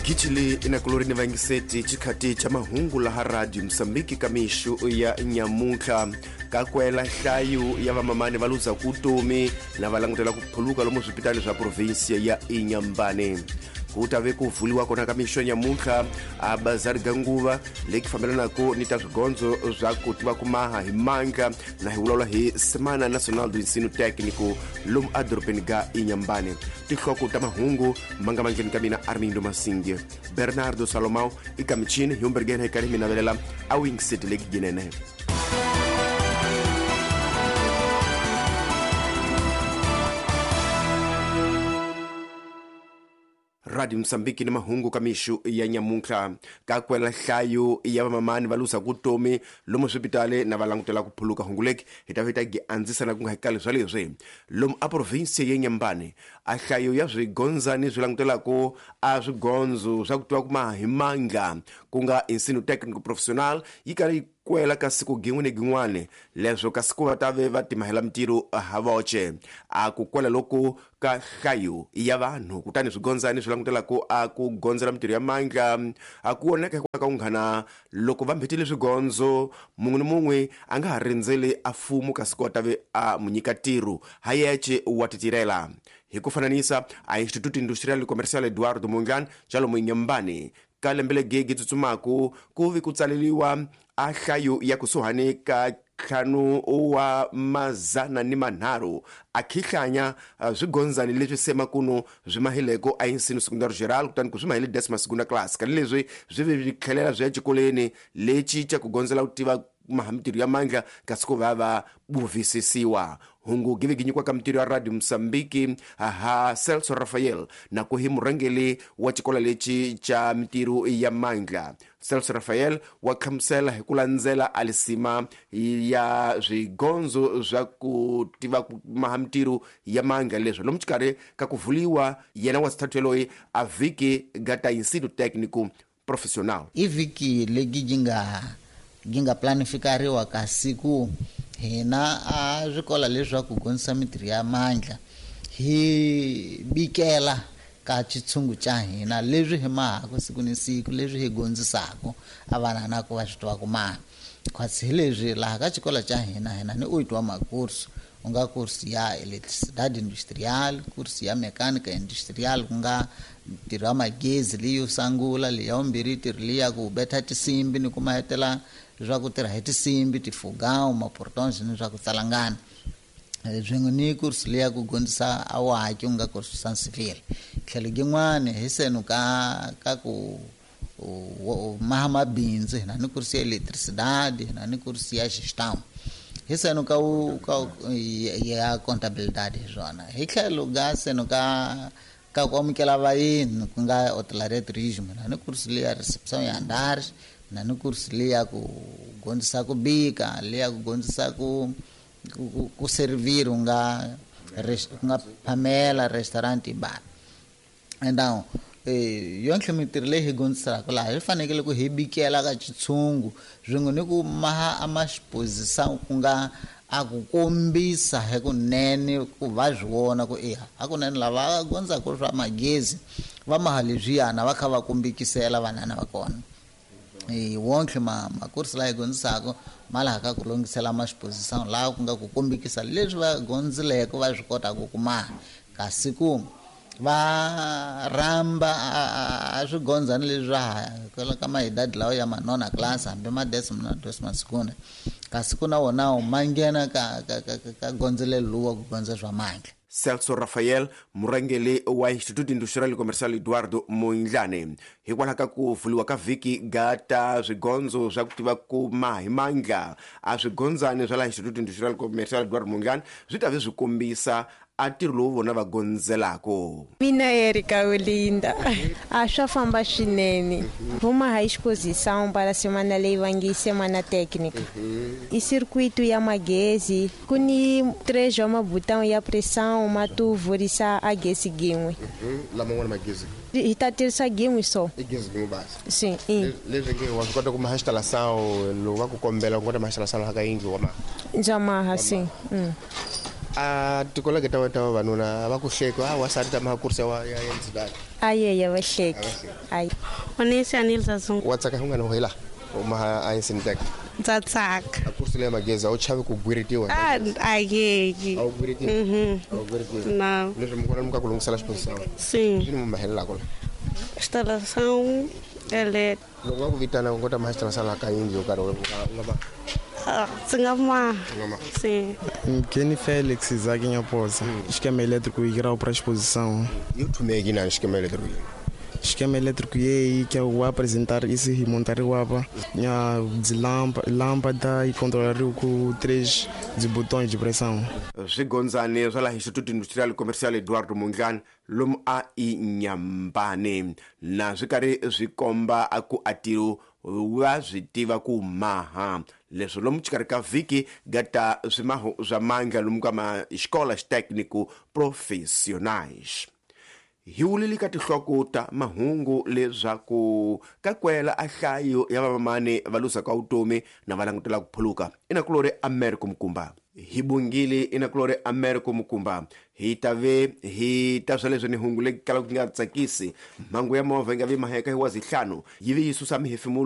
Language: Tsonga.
Gitshili inakulori ni vangiseti chikhati cha mahungu laha Radio Msambiki kamixu ya nyamuntlha kakwela nhlayo ya vamamani va luza kutomi na va langutela ku phuluka lomu swipitali swa provinsia ya Inhambane. Ku ta ve ku vuliwa kona ka mixo nyamuntlha a bazari ga nguva leyi fambelanaka ni ta swigondzo swa ku tiva ku maha hi mandla na hi vulavula hi Semana Nacional do Ensino Técnico lomu edorobeni ga Inhambane. Tinhloko ta mahungu ma nga mandleni ka mina Armindo Masinge, Bernardo Salomão i ka michini hi umbergena hi karhi mi navelela a wingiseti leki ginene. Radio Msambiki ni mahungu ka mixu ya nyamuntlha kakwela nhlayo ya vamamani va luza kutomi lomu swipitali na va langutela ku phuluka hungu leki hi ta vita gi andzisa na ku nga hikali swa leswi lomu a province ya Inhambane a nhlayo ya swigondzani swi langutelaku a swigondzo swa ku tiva ku maha hi mandla ku nga ensino técnico profissional yi karhi yi kwela ka siku gin'we ni gin'wana leswo ka siku va ta ve va timahela mintirho ha voce a ku kwela loko ka nhlayo ya vanhu kutani swigondzani swi langutelaku a ku gondzela mintirho ya mandla a ku voneka hikwalaho ka ku nghana loko va mbhetile swigondzo mun'we ni mun'we a nga ha rindzeli a fumu ka siku a ta ve a mu nyika ntirho ha yece wa titirhela. Hi ku fananisa a Instituto Industrial e Comercial Eduardo Mondlane xa lomu Inhambane ka lembe legegi tsutsumaku ku vi ku tsaleliwa a nhlayo ya kusuhani ka 503 a khihlanya swigondzani leswi semakuno swi mahileko a ensino secundário geral kutani ku swi mahile décima segunda classe kani leswi swi vi swi tlhelela swi ya xikolweni lexi xa ku gondzela ku tiva maha mintirho ya mandla kasi ku va va buvisisiwa. Hungu give gi nyikiwa ka mintirho ya Radio Msambiki ha Celso Rafael na ku hi murhangeri wa xikolo lexi xa mintirho ya mandla. Celso Rafael wa hlamusela hi ku landzela alisima ya swigondzo swa ku tiva ku maha mintirho ya mandla leswi lomu xikarhi ka ku vuliwa yena wa sithathu yaloyi a vhiki ga ta ensino técnico profissional. I vhiki legi gi nga planifikariwa ka siku hina a swikola leswaku gondzisa mintirho ya mandla hi bikela ka xitshungu xa hina leswi hi mahaka siku ni siku leswi hi gondzisaka a vana na ku va swi tiva ku maha khwatsi hi leswi laha ka xikolo xa hina hina ni u twa makursu u nga kursu ya eletricidade industrial, kursu ya mecânica industrial ku nga ntirho wa magezi leyo sungula leya vumbirhi ntirho leya ku betha tinsimbi ni ku mahetela swa ku tirha hi tinsimbi tifugão maportons ni swa ku tsalangana swin'we ni kursu leya ku gondzisa a waki ku nga kursu san civil tlhelo yin'wana hi senu ka ku maha mabindzu hina ni kursu ya eletricidade hina ni kursu ya gestão hi senu ka ya contabilidade hi swona hi tlhelo ga senu ka ku amukela vayeni ku nga hotelaria turismo hina ni kursu leya recepção ya andares na ni kursu leya ku gondzisa ku bika leya ku gondzisa ku servir nga phamela restaurant bar. Então yonke mintirho leyi hi gondzisaka laha hi fanekele ku hi bikela ka xitshungu swin'we ni ku maha a maxiposição ku nga a ku kombisa hi kunene ku va swi vona ku eya hakunene lava gondzaka swa magezi va maha leswiyana va kha va kombekisela vanana va kona. Wonke makursi laha hi gondzisaka ma laha ka ku longisela maxiposição laha ku nga ku kombekisa leswi va gondzileke va swi kotaka ku maha kasi ku va rhamba a swigondzani leswi swa ha ka maidadi lawa ya manona class hambi ma décima na décima segunda kasi ku na wona ma nghena ka gondzelelo lowu wa ku gondza swa mandla. Celso Rafael murhangeri wa Instituto Industrial e Comercial Eduardo Mondlane hikwalaho ka ku vuliwa ka vhiki ga ta swigondzo swa ku tiva ku maha hi mandla a swigondzani swa laha Instituto Industrial e Comercial Eduardo Mondlane swi ta ve swi kombisa a ntirho lowu vona va gondzelaka. Mina Erika Olinda a swa famba swinene vuma ha exposição para semana leyi va nge semana técnica i circuito ya magezi ku ni 3 wa mabutão ya pressão ma tu vurisa a gesi gin'we laman'wana magezi hi ta tirhisa gin'we so i gezi gin'we basi sim leswi nge wa swi kota ku maha instalação loko va ku kombela ku kota maha instalação laha ka yindlu wa maha ndza maha sim. A tikolege ta wena ta vavanuna va ku hleki a wasati ta maha kurisa wa ya ndzilani? Ayeya, va hleki ayi. Onesi Anilza Zungu. Wa tsaka hungana ho hela u maha a insintek? Ndza tsaka. A kursi leya magezi a wu chavi ku gwiritiwa? A ayeki. A wu gwiritiwi? Mhm. A wu gwiritiwi? Não. Leswi mi kona mi ka ku lunghisela xiposição? Sim. Swi ni mu mahelelako la? Instalação elétrica. Loko va ku vitana u kota maha xitirhisa laha ka yindlu yo karhi, u nga ma? Ah, ndzi nga ma. U nga ma? Sim. Kenny Félix Isaac Nhaposa. Esquema elétrico e grau para exposição. Yo thumeki na xikema elétrico? Esquema elétrico e que eu vou apresentar isso e montar o apa. Minha de lâmpada e controlar com três de botões de pressão. Swigondzani swa laha Instituto Industrial Commercial Eduardo Mondlane lomu a Inyambane na swi karhi swi komba a ku atiro va swi tiva ku maha leswi lomu xikarhi ka vhiki gata swimaho swa mandla lomu ka ma xikola xitecnico profissionais. Hi wulile ka tinhloko ta mahungu leswaku ka kwela a hlayo ya vamamani va luzaka vutomi na va langutela ku phuluka inakulori America Mukumba. Hi bungile inakulori America Mukumba, hi ta ve hi ta swa leswi ni hungu leyi kalaka ku nga tsakisi. Mhangu ya movha yi nga vi maheka hi wazihlanu yi vi yi susa mihefemulo.